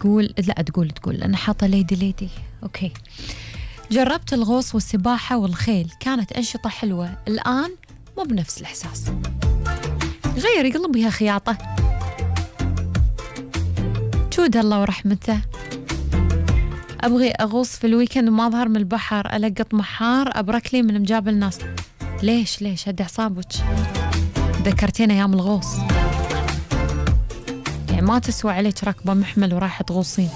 تقول لا تقول أنا حاطة ليدي. أوكي. جربت الغوص والسباحة والخيل، كانت أنشطة حلوة، الآن مو بنفس الإحساس. غيري قلبيها خياطة. جود الله ورحمته. أبغي أغوص في الويكند وما أظهر من البحر، ألقط محار أبرك لي من مجاب الناس. ليش هدي أعصابك؟ ذكرتين أيام الغوص، يعني ما تسوى عليك ركبة محمل ورايحة تغوصين،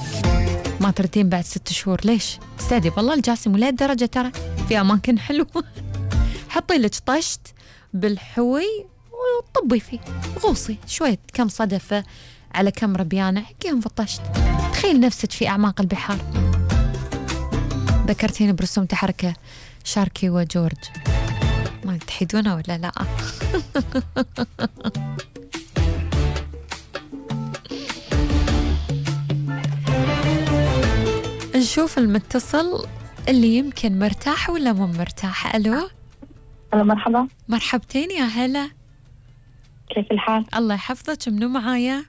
ما تردين بعد 6 شهور. ليش؟ استهدي بالله الجاسم، ولا الدرجة ترى في أماكن حلوة. حطي لك طشت بالحوي وطبي فيه، غوصي شوية، كم صدفة على كم ربيانة حكيهم في الطشت. تخيل نفسك في أعماق البحار. ذكرتيني برسوم تحركة شاركي وجورج، ما تحيدونه ولا لا؟ نشوف المتصل اللي يمكن مرتاح ولا مو مرتاح. ألو. ألو مرحبا. مرحبتين يا هلا. كيف الحال؟ الله يحفظك. منو معايا؟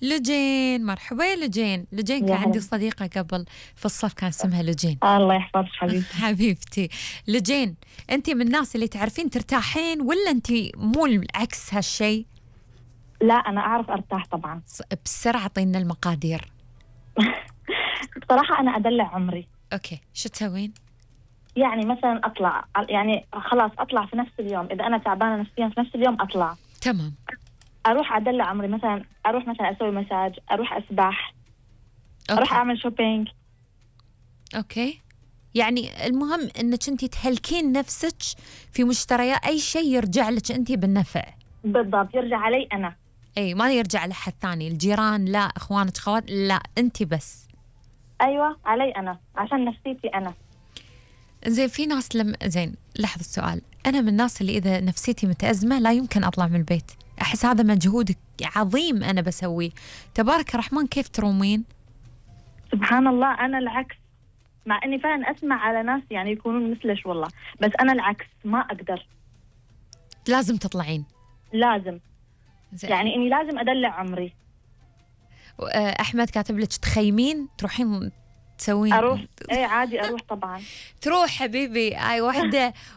لجين. مرحبا يا لجين. كان عندي صديقة قبل في الصف كان اسمها لجين. الله يحفظك حبيبتي. حبيبتي لجين، أنت من الناس اللي تعرفين ترتاحين ولا أنت مو العكس هالشي؟ لا أنا أعرف أرتاح طبعا. بسرعة أعطينا المقادير. بصراحة أنا أدلع عمري. أوكي، شو تسوين؟ يعني مثلا أطلع، يعني خلاص أطلع في نفس اليوم، إذا أنا تعبانة نفسيا في نفس اليوم أطلع. تمام. أروح أدلع عمري، مثلا أروح مثلا أسوي مساج، أروح أسبح. أوكي. أروح أعمل شوبينج. أوكي، يعني المهم أنك أنت تهلكين نفسك في مشتريات، أي شيء يرجع لك أنت بالنفع. بالضبط، يرجع علي أنا. أي، ما يرجع لحد ثاني، الجيران لا، أخوانك خوات لا، أنت بس. أيوة علي أنا، عشان نفسيتي أنا. زين، في ناس زين لحظة السؤال، أنا من الناس اللي إذا نفسيتي متأزمة لا يمكن أطلع من البيت، أحس هذا مجهود عظيم أنا بسويه. تبارك الرحمن، كيف ترومين؟ سبحان الله، أنا العكس، مع أني فعلا أسمع على ناس يعني يكونون مثلش والله، بس أنا العكس ما أقدر. لازم تطلعين. لازم يعني إني لازم أدلع عمري. أحمد كاتب لك تخيمين، تروحين تسوين؟ أروح، إيه عادي أروح طبعا. تروح حبيبي. أي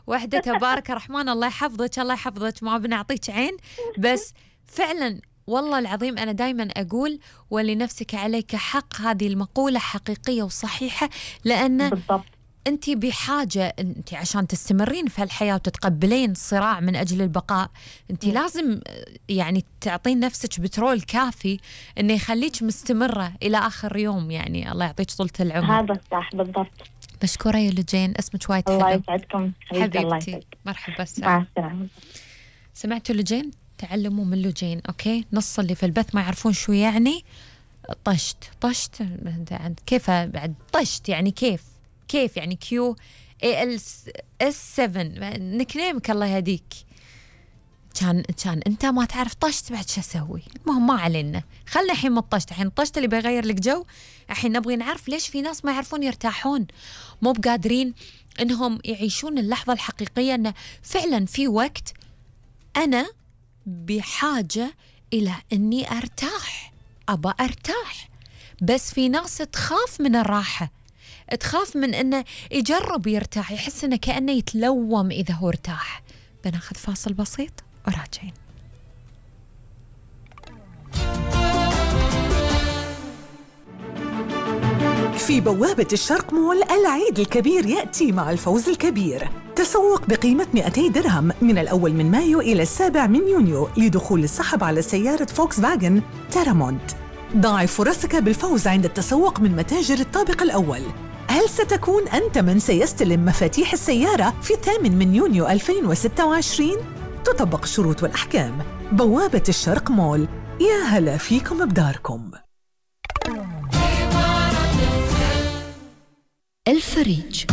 وحدة تبارك الرحمن، الله يحفظك ما بنعطيك عين، بس فعلا والله العظيم أنا دايما أقول ولنفسك عليك حق، هذه المقولة حقيقية وصحيحة، لأن بالضبط أنت بحاجة، أنت عشان تستمرين في الحياة وتتقبلين الصراع من أجل البقاء، أنت لازم يعني تعطين نفسك بترول كافي إنه يخليك مستمرة إلى آخر يوم، يعني الله يعطيك طولة العمر. هذا صح بالضبط. مشكورة يا لجين، اسمك وايد حلو. الله يسعدكم حبيبتي. مرحبا. مع السلامة. سمعتوا لجين؟ تعلموا من لجين. أوكي، نص اللي في البث ما يعرفون شو يعني طشت كيف بعد طشت، يعني كيف يعني QALS7 نكنيمك الله يهديك. كان انت ما تعرف طشت، بعد شو اسوي؟ المهم ما علينا، خلنا الحين من الطشت. الحين الطشت اللي بيغير لك جو، الحين نبغي نعرف ليش في ناس ما يعرفون يرتاحون، مو بقادرين انهم يعيشون اللحظة الحقيقية، انه فعلا في وقت انا بحاجة الى اني ارتاح، ابى ارتاح. بس في ناس تخاف من الراحة، تخاف من انه يجرب يرتاح، يحس انه كأنه يتلوم اذا هو ارتاح. بناخذ فاصل بسيط وراجعين. في بوابة الشرق مول، العيد الكبير يأتي مع الفوز الكبير. تسوق بقيمة 200 درهم من الأول من مايو إلى 7 من يونيو لدخول السحب على سيارة فولكس فاجن تيرامونت. ضاعف فرصك بالفوز عند التسوق من متاجر الطابق الأول. هل ستكون أنت من سيستلم مفاتيح السيارة في 8 من يونيو 2026؟ تطبق الشروط والأحكام. بوابة الشرق مول، يا هلا فيكم بداركم. الفريج